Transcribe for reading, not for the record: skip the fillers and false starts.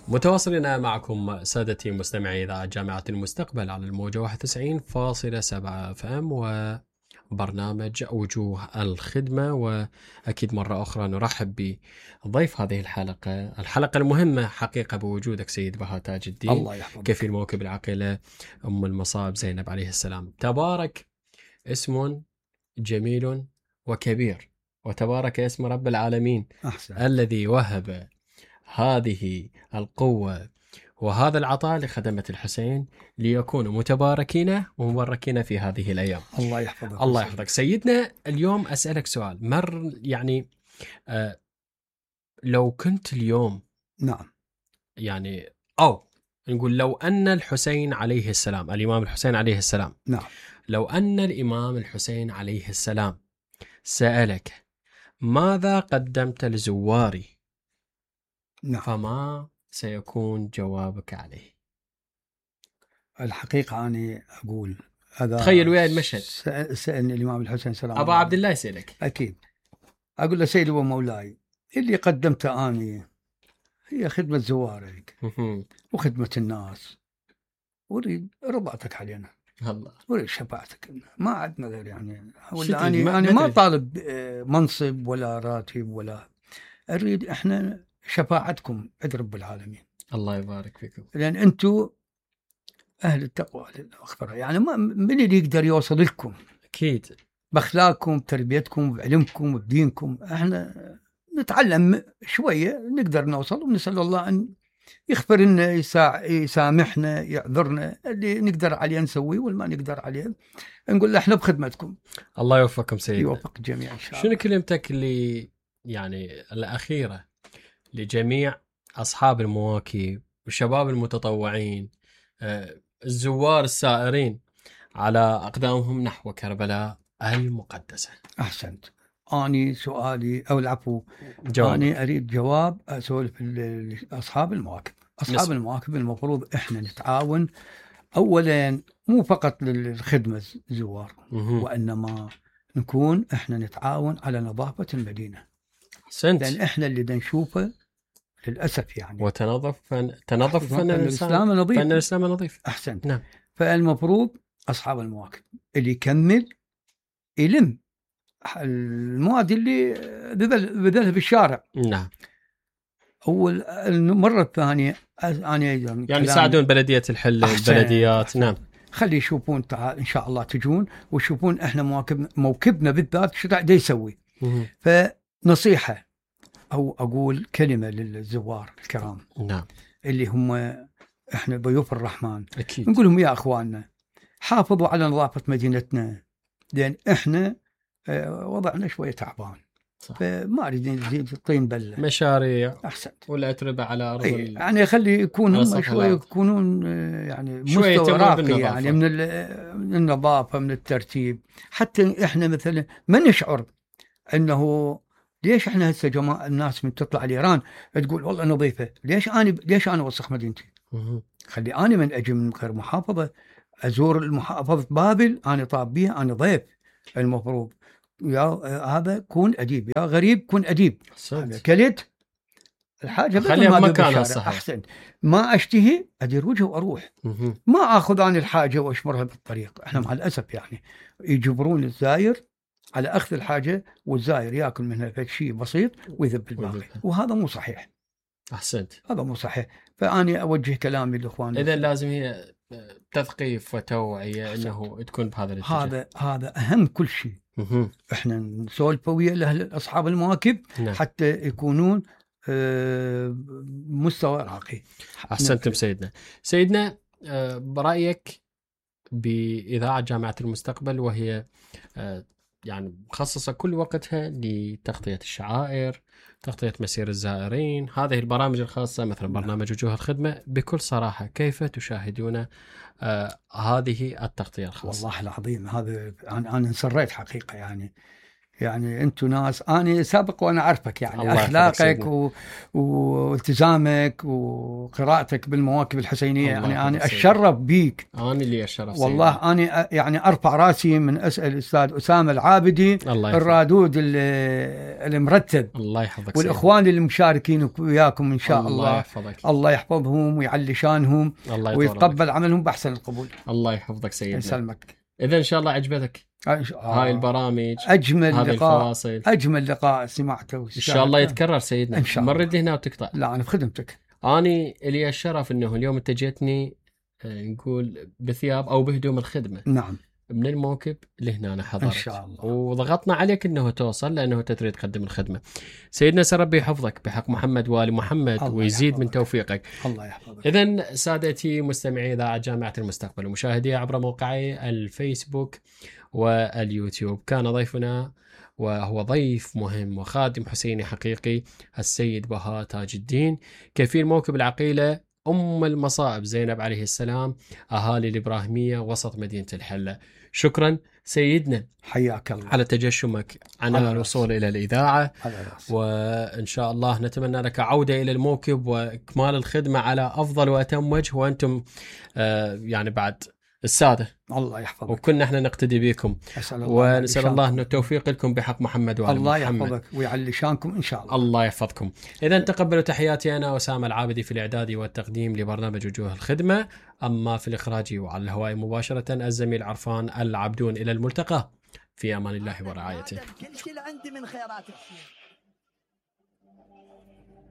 متواصلين معكم سادتي مستمعي إذاعة جامعة المستقبل على الموجة 91.7 FM وبرنامج وجوه الخدمة. وأكيد مرة أخرى نرحب بضيف هذه الحلقة المهمة حقيقة بوجودك سيد بهاء تاج الدين، الله يحفظك. كفيل موكب العقيلة أم المصائب زينب عليه السلام. تبارك اسم جميل وكبير، وتبارك اسم رب العالمين. أحسن. الذي وهب هذه القوة وهذا العطاء لخدمة الحسين ليكونوا متباركين ومباركين في هذه الأيام. الله يحفظك. الله يحفظك سيدنا. اليوم أسألك سؤال يعني لو كنت اليوم نعم يعني أو نقول لو أن الحسين عليه السلام، الإمام الحسين عليه السلام، نعم، لو أن الإمام الحسين عليه السلام سألك ماذا قدمت لزواري، نعم، فما سيكون جوابك عليه؟ الحقيقة أنا أقول هذا، تخيل وياي المشهد. سألني الإمام الحسين سلام أبا عبد الله يسألك. أكيد أقول له سيدي ومولاي، اللي قدمته أنا هي خدمة زوارك وخدمة الناس، أريد رضاتك علينا، الله أريد شفاعتك، ما عندنا غير يعني. أنا ما طالب منصب ولا راتب ولا أريد، إحنا شفاعتكم عند رب العالمين. الله يبارك فيكم، لأن أنتم أهل التقوى الأخبار، يعني من اللي يقدر يوصل لكم؟ أكيد بأخلاقكم، بتربيتكم، بعلمكم، بدينكم. إحنا نتعلم شوية نقدر نوصل، ونسأل الله أن يغفر لنا، يسامحنا، يعذرنا، اللي نقدر عليه نسويه والما نقدر عليه نقول له إحنا بخدمتكم. الله يوفقكم سيدنا، يوفق الجميع إن شاء الله. شنو كلمتك اللي يعني الأخيرة لجميع أصحاب المواكب والشباب المتطوعين، الزوار السائرين على أقدامهم نحو كربلاء المقدسة؟ أحسنت. أنا سؤالي أو العفو، أنا أريد جواب أسولف لأصحاب المواكب. أصحاب المواكب المفروض إحنا نتعاون، أولا مو فقط للخدمة الزوار، وإنما نكون إحنا نتعاون على نظافة المدينة. لأن إحنا اللي نشوفه للأسف يعني. وتنظف فن الإسلام نظيف. فن الإسلام نظيف. أحسنت. نعم. فالمفروض أصحاب المواكب اللي يكمل يلم المواد اللي بذلها بالشارع. نعم. أول المرة الثانية أنا يعني يساعدون بلدية الحل، البلديات. نعم. خلي يشوفون، إن شاء الله تجون ويشوفون إحنا موكبنا بالذات شو قاعد يسوي. فنصيحة أو أقول كلمة للزوار الكرام. نعم. اللي هم إحنا ضيوف الرحمن. أكيد. نقول لهم يا أخواننا حافظوا على نظافة مدينتنا، لأن إحنا وضعنا شوية تعبان. فما أريد نزيد الطين بلة. مشاريع. أحسنت. ولا أتربة على أرض يعني خلي يكون هم شوية يكونون يعني مستوى راقي، يعني من النظافة، من الترتيب. حتى إحنا مثلا ما نشعر أنه ليش إحنا هسه جماعة الناس من تطلع الإيران تقول والله نظيفة، ليش أنا وسخ مدينتي؟ خلي أنا من أجي من غير محافظة أزور المحافظة بابل، أنا طاب بيها، أنا ضيف. المفروض يا هذا كون أديب، يا غريب كون أديب. كلت الحاجة خليها بمكانها الصحيح. أحسن. ما أشتهي أدير وجهه وأروح. ما أخذ عن الحاجة وأشمرها بالطريق. إحنا مع الأسف يعني يجبرون الزائر على أخذ الحاجة، والزائر يأكل منها شيء بسيط ويذب الباقي، وهذا مو صحيح. أحسنت. هذا مو صحيح. فأنا أوجه كلامي للإخوان. إذا لازم هي تثقيف وتوعية أنه تكون بهذا الاتجاه. هذا أهم كل شيء. إحنا نسولف ويا أصحاب المواكب. نعم. حتى يكونون مستوى راقي. أحسنتم سيدنا. برأيك بإذاعة جامعة المستقبل، وهي يعني مخصصة كل وقتها لتغطية الشعائر، تغطية مسير الزائرين، هذه البرامج الخاصة مثلا برنامج وجوه الخدمة، بكل صراحة كيف تشاهدون هذه التغطية الخاصة؟ والله العظيم هذا أنا انسريت حقيقة. يعني يعني أنتم ناس أنا سابق وأنا أعرفك، يعني أخلاقك والتزامك وقراءتك بالمواكب الحسينية، يعني أنا أتشرف بيك. أنا اللي أشرف والله أنا يعني أرفع راسي من أسأل الأستاذ أسامة العابدي الرادود المرتب، الله يحفظك، والإخوان اللي مشاركين وياكم إن شاء الله يحفظك. الله يحفظهم ويعلي شانهم ويتقبل عملهم بأحسن القبول. الله يحفظك سيدنا، يسلمك. إذا إن شاء الله عجبتك هاي البرامج، أجمل لقاء، أجمل لقاء سمعته إن شاء الله يتكرر سيدنا. إن شاء الله. مرد هنا وتقطع. لا أنا بخدمتك. أنا لي الشرف إنه اليوم أنت جيتني نقول بثياب أو بهدوم الخدمة. نعم. من الموكب لهنا أنا حضرت إن شاء الله، وضغطنا عليك إنه توصل لأنه تريد تقدم الخدمة. سيدنا سربي يحفظك بحق محمد وآل محمد ويزيد يحفظك. من توفيقك. الله يحفظك. إذن سادتي مستمعي إذاعة جامعة المستقبل ومشاهدي عبر موقعي الفيسبوك واليوتيوب، كان ضيفنا وهو ضيف مهم وخادم حسيني حقيقي السيد بهاء تاج الدين، كفيل موكب العقيلة أم المصائب زينب عليه السلام، أهالي الإبراهيمية وسط مدينة الحلة. شكرا سيدنا، حياك الله على تجشمك عن الوصول إلى الإذاعة، وإن شاء الله نتمنى لك عودة إلى الموكب وإكمال الخدمة على أفضل وأتم وجه، وأنتم يعني بعد السادة الله يحفظك، وكنا احنا نقتدي بكم، ونسأل الله أن التوفيق لكم بحق محمد وآل الله محمد. يحفظك ويعلي شانكم إن شاء الله. الله يحفظكم. إذا تقبلوا تحياتي أنا أسامة العابدي في الإعداد والتقديم لبرنامج وجوه الخدمة، أما في الإخراج وعلى الهواء مباشرة الزميل عرفان العبدون. إلى الملتقى، في أمان الله ورعايته. كل شيء عندي من خيرات